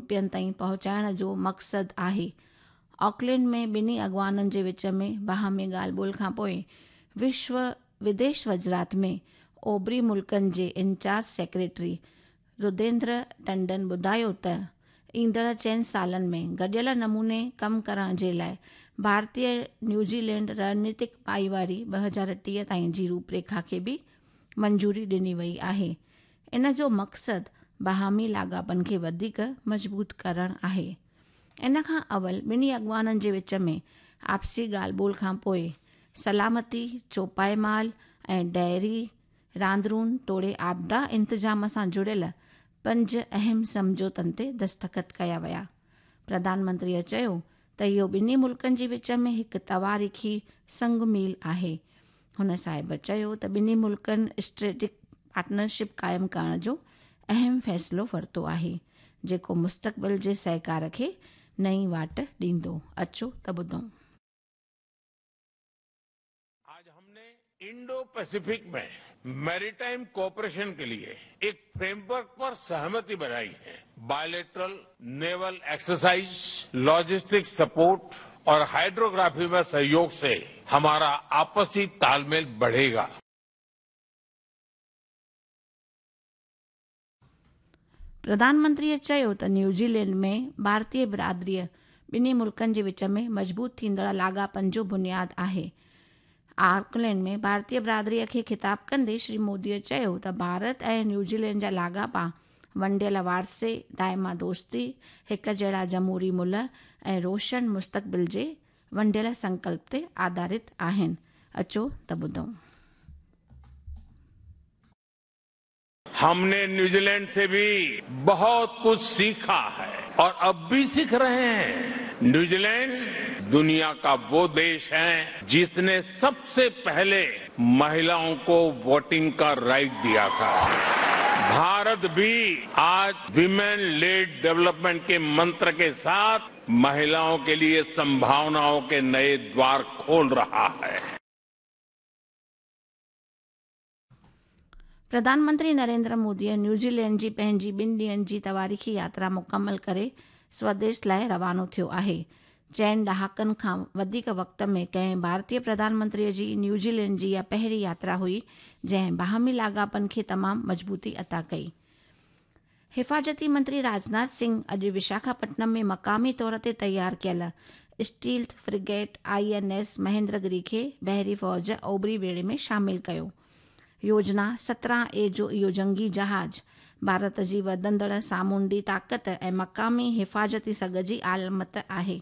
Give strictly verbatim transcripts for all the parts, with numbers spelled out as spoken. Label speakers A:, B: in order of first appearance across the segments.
A: रुपयनि ताईं पहुचाइण जो मक़सदु आहे। ऑकलैंड में ॿिन्ही अॻवाननि जे विच में बाहमी ॻाल्हि ॿोल खां पोइ विश्व विदेश वज़ारत में ओभरी मुल्कनि जे इंचार्ज सेक्रेटरी रुदेंद्र टंडन ॿुधायो त ईंदड़ चइनि सालनि में गॾियल नमूने कमु करण जे लाइ भारतीय न्यूज़ीलैंड रणनीतिक भाईवारी ॿ हज़ार टीह ताईं जी रूपरेखा खे बि मंज़ूरी ॾिनी वई आहे। इन जो मक़सदु बाहमी लाॻापनि खे वधीक मज़बूत करणु आहे। इन खां अवल ॿिन्ही अॻवाननि जे विच में आपसी ॻाल्हि ॿोल खां पोइ सलामती, चौपाए माल ऐं डेयरी, रांदरून तोड़े आपदा इंतज़ाम सां जुड़ियल पंज अहम सम्झौतनि ते दस्तख़त कया विया। प्रधानमंत्रीअ चयो त इहो ॿिन्ही मुल्कनि जे विच में हिकु तवारीख़ी संग मील आहे। हुन साहिब चयो त ॿिन्ही मुल्कनि स्ट्रेटिक पार्टनरशिप क़ाइमु करण जो अहम फ़ैसिलो वरितो आहे, जेको मुस्तक़बिल जे सहकार खे नई वाट ॾींदो। अचो त ॿुधूं।
B: आज हमने इंडो पैसिफिक में मैरीटाइम कोऑपरेशन के लिए एक फ्रेमवर्क पर सहमति बनाई है। Bilateral naval exercise, logistic support और हाइड्रोग्राफी में सहयोग से हमारा आपसी तालमेल बढ़ेगा।
A: प्रधानमंत्रीअ चयो त न्यूज़ीलैंड में भारतीय बिरादरीअ ॿिन्ही मुल्कनि जे विच में मज़बूत थींदड़ लाॻापनि जो बुनियाद आहे। ऑकलैंड में भारतीय बिरादरीअ खे ख़िताब कंदे श्री मोदीअ चयो त भारत ऐं न्यूज़ीलैंड जा लाॻापा वंडियल वारसे, दाइमा दोस्ती, हिक जहिड़ा जमहूरी मुल्ह ऐं रोशन मुस्तक़बिल जे वंडियल संकल्प ते आधारित आहिनि। अचो त ॿुधूं।
B: हमने न्यूजीलैंड से भी बहुत कुछ सीखा है और अब भी सीख रहे हैं। न्यूजीलैंड दुनिया का वो देश है जिसने सबसे पहले महिलाओं को वोटिंग का राइट दिया था। भारत भी आज विमेन लेड डेवलपमेंट के मंत्र के साथ महिलाओं के लिए संभावनाओं के नए द्वार खोल रहा है।
A: प्रधानमंत्री नरेंद्र मोदीअ न्यूज़ीलैंड जी पंहिंजी ॿिनि ॾींहंनि जी तवारीख़ी यात्रा मुकमल करे स्वदेश लाइ रवानो थियो आहे। चइनि ॾहाकनि खां वधीक वक़्त में कंहिं भारतीय प्रधानमंत्रीअ जी न्यूज़ीलैंड जी इहा पहिरीं यात्रा हुई, जंहिं बाहमी लाॻापनि खे तमामु मज़बूती अता कई। हिफाज़ती मंत्री राजनाथ सिंह अॼु विशाखापट्टनम में मक़ामी तौर ते तयारु कयल stealth frigate I N S Mahendragiri खे बहरी फ़ौज ओबरी ॿेड़े में शामिल कयो। योजना सत्रहं ए जो इहो जंगी जहाज़ भारत जी वधंदड़ सामुंडी ताक़त ऐं मक़ामी हिफाज़ती सघ जी आलामत आहे।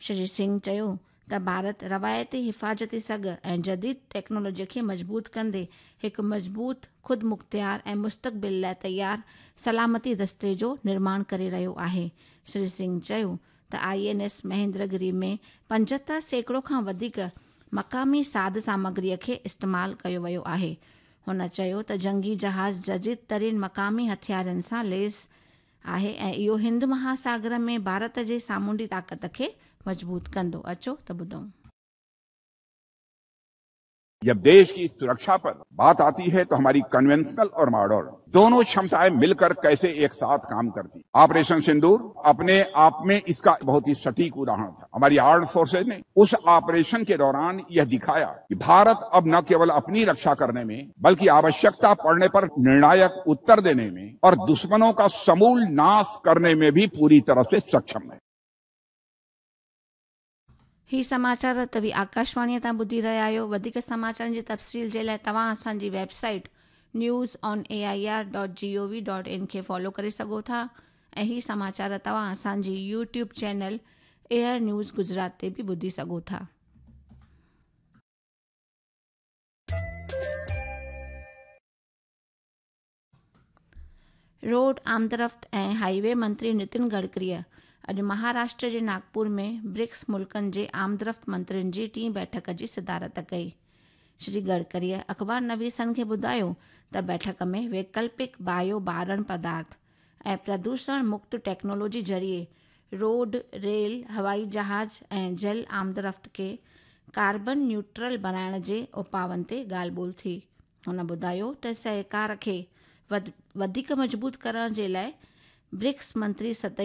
A: श्री सिंह चयो त भारत रवायती हिफाज़ती सघ ऐं जदीद टेक्नोलॉजी खे मज़बूत कंदे हिकु मज़बूत, ख़ुदि मुख़्तियार ऐं मुस्तक़बिल लाइ तयारु सलामती दस्ते जो निर्माण करे रहियो आहे। श्री सिंह चयो त I N S Mahendragiri में पंजहतरि सैकड़ो खां वधीक मक़ामी साध सामग्रीअ खे इस्तेमालु कयो वियो आहे। हुन चयो त जंगी जहाज़ जदीद तरीन मक़ामी हथियारनि सां लैस आहे ऐं इहो हिंद महासागर में भारत जे सामुंडी ताक़त खे मज़बूत कंदो। अचो त ॿुधूं।
C: जब देश की सुरक्षा पर बात आती है तो हमारी कन्वेंशनल और मॉडर्न दोनों क्षमताएं मिलकर कैसे एक साथ काम करती। ऑपरेशन सिंदूर अपने आप में इसका बहुत ही सटीक उदाहरण था। हमारी आर्म्ड फोर्सेज ने उस ऑपरेशन के दौरान यह दिखाया कि भारत अब न केवल अपनी रक्षा करने में बल्कि आवश्यकता पड़ने पर निर्णायक उत्तर देने में और दुश्मनों का समूल नाश करने में भी पूरी तरह से सक्षम है।
A: ही समाचार तव्हीं आकाशवाणीअ तां ॿुधी रहिया आहियो। वधीक समाचारनि जी तफ़सील जे लाइ तव्हां असांजी website news on A I R dot G O V dot in खे फॉलो करे सघो था ऐं ही समाचार तव्हां असांजी YouTube channel air news Gujarat ते बि ॿुधी सघो था। रोड आमदरफ़्त ऐं हाईवे मंत्री नितिन गडकरीअ अॼु महाराष्ट्र जे नागपुर में ब्रिक्स मुल्कनि जे आमदरफ़्त मंत्रियुनि जी टीं बैठक जी सदारत कई। श्री गडकरीअ अख़बार नवीसनि खे ॿुधायो त बैठक में वैकल्पिक बायो बारण पदार्थ ऐं प्रदूषण मुक्त टेक्नोलॉजी ज़रिए रोड, रेल, हवाई जहाज़ ऐं जल आमदरफ़्त खे कार्बन न्यूट्रल बणाइण जे उपाउनि ते ॻाल्हि ॿोल थी। हुन ॿुधायो त सहकार खे वधीक मज़बूत करण जे लाइ ब्रिक्स मंत्री सतही